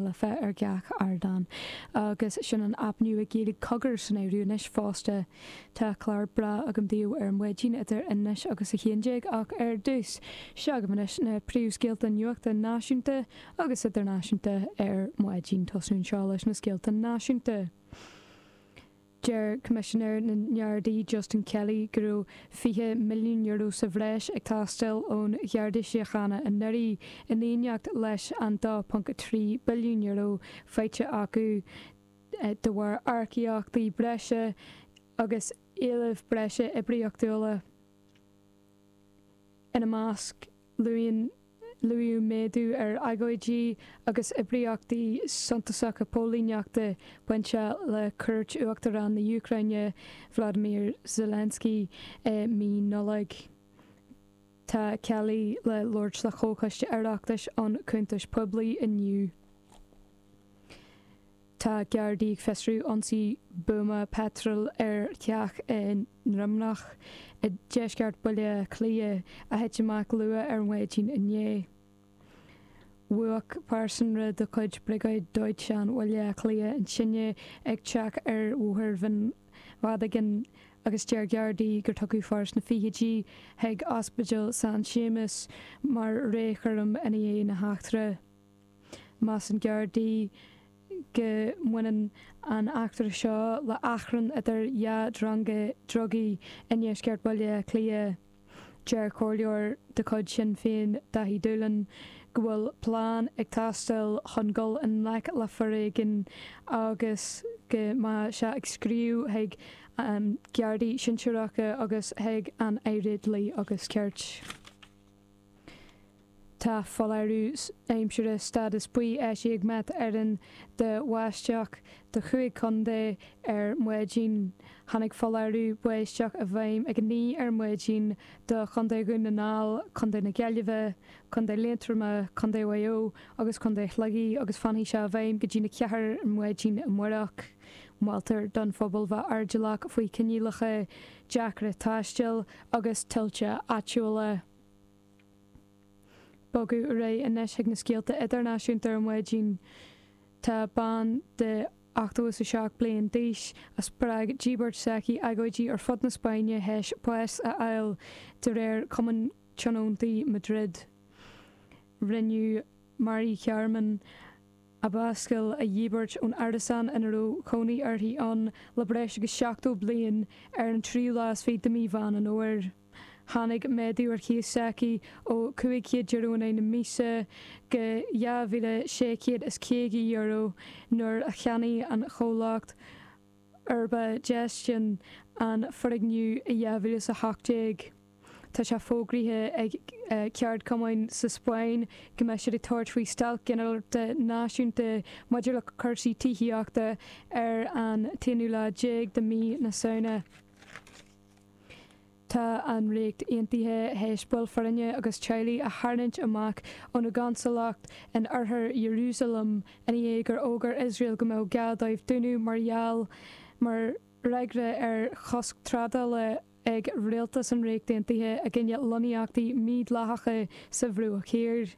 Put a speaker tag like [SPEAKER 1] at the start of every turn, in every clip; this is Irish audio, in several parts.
[SPEAKER 1] Life ar gach ardán. Agus sin an aip nua Gaeilge Cogar san áireamh anois fosta. Tá clár breá agam daoibh ar maidin idir anois agus 11 ach ar dtús, seo agaibh anois na príomhscéalta nuachta náisiúnta agus idirnáisiúnta ar maidin. Tosnú anseo leis na scéalta náisiúnta. Deir Coimisinéir na nGardaí Justin Kelly go raibh €20 milliún sa bhreis ag teastáil ón Gharda Síochána anuraidh, in éineacht leis an €2.3 billiún faighte acu de bharr earcaíochtaí breise agus éilimh breise oibríochtúla. Ina measc, luaíodh méadú ar agóidí agus oibríochtaí suntasacha póilíneachta bainteach le cuairt Uachtarán na hÚcráine Volodymyr Zelensky i mí Nollag. Tá Kelly le labhairt le Comhchoiste Oireachtais um Chuntais Poiblí inniu. Tá Gardaí ag fiosrú ionsaí buama peitril ar theach i nDroimneach i deisceart Bhaile Átha Cliath a thit amach luath ar maidin inné. Mhúch pearsanra de chuid Briogáid Dóiteáin Bhaile Átha Cliath an tine ag teach ar Bhóthar Bhinn Mhadagáin agus deir Gardaí gur tugadh fear sna fichidí chuig Ospidéal San Séamas mar réamhchúram i ndiaidh na heachtra. Measann Gardaí go mbaineann an eachtra seo le achrann idir dhá dhrong drugaí i ndeisceart Bhaile Átha Cliath. Deir comhairleoir de chuid Shinn Féin, Daithí Doolan, go bhfuil plean ag teastáil chun dul i ngleic le foréigean agus go mbeadh sé ag scríobh chuig Gardaí sinsearacha agus chuig an Aire Dlí agus Cirt. Tá foláireamh aimsire stádas buí eisithe ag Met Éireann do bháisteach do chúig chontae ar maidin. Tháinig foláireamh báisteach i bhfeidhm ag 9 ar maidin do Chontae Dhún na nGall, Contae na Gaillimhe, Contae Liatroma, Contae Mhaigh Eo agus Contae Shligigh agus fanfaidh sé i bhfeidhm go dtí na 4 ar maidin amárach. Moltar don phobal bheith airdeallach faoi choinníollacha deacra taistil agus tuilte áitiúla. Bogadh ar aghaidh anois chuig na scéalta idirnáisiúnta ar maidin. Tá bean de 87 bliain d'aois a spreag díbirt s'aici agóidí ar fud na Spáinne théis bás a fháil, de réir Cumann Tionóntaí Madrid. Rinneadh Mari Carmen Abascal a dhíbirt ón árasán ina raibh cónaí uirthi ann le breis agus 70 bliain ar an tríú lá is fiche de mhí Mheán an Fhómhair. Tháinig méadú ar chíos s'aici ó €500 in aghaidh na míosa go €2,650 nuair a cheannaigh an chomhlacht Urba Gestion an foirgneamh i 2018. Tá sé fógraithe ag ceardchumainn sa Spáinn go mbeidh siad ag tabhairt faoi stailc ghinearálta náisiúnta maidir le cúrsaí tithíochta ar an t-aonú lá déag de mhí na Samhna. Tá an Ríocht Aontaithe théis baill foirne agus teaghlaigh a tharraingt amach óna gconsalacht in oirthear Iarúsailéim i ndiaidh gur fhógair Iosrael go mbeadh gá dóibh dúnadh mar gheall mar fhreagra ar chosc trádála ag rialtas an Ríocht Aontaithe i gcoinne lonnaíochtaí mídhleathacha sa Bhruach Thiar.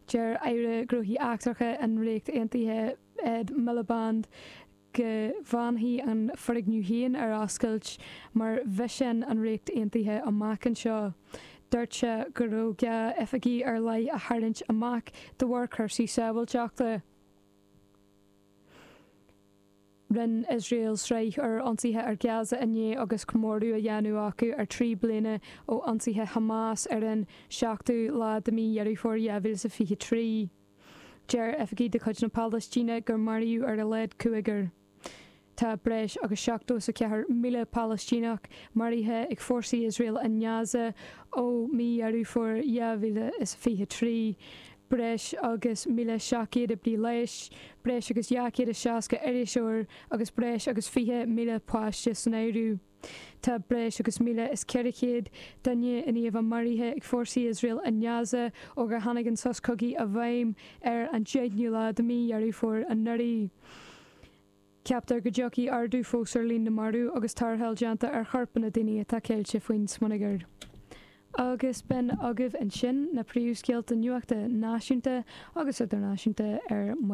[SPEAKER 1] Deir Aire Gnóthaí Eachtracha an Ríocht Aontaithe Ed Miliband go bhfanfaidh an foirgneamh féin ar oscailt mar mhisean an Ríocht Aontaithe amach anseo. Dúirt sé go raibh gá oifigí ar leith a tharraingt amach de bharr cúrsaí sábháilteachta. Rinne Iosrael sraith úr ionsaithe ar Gaza inné agus comóradh á dhéanamh acu ar 3 bliana ó ionsaithe Hamas ar an 7ú lá de mhí Dheireadh Fómhair 2023. Deir oifigigh de chuid na Palaistíne gur maraíodh ar a laghad cúigear. Tá breis agus 74,000 Palaistíneach maraithe ag fórsaí Iosrael i nGaza ó mhí Dheireadh Fómhair 2023, breis agus 1,700 oibrí leighis, breis agus 260 iriseoir agus breis agus 20,000 páiste san áireamh. Tá breis agus 1,400 duine i ndiaidh a bheith maraithe ag fórsaí Iosrael i nGaza ó gur tháinig an sos cogaidh i bhfeidhm ar an 10ú lá de mhí Dheireadh Fómhair anuraidh. Ceaptar go dtiocfaidh ardú fós ar líon na marbh agus tarrtháil déanta ar chorpanna daoine atá ceilte faoin smionagar. Agus b'in agaibh ansin na príomhscéalta nuachta náisiúnta agus idirnáisiúnta ar maidin.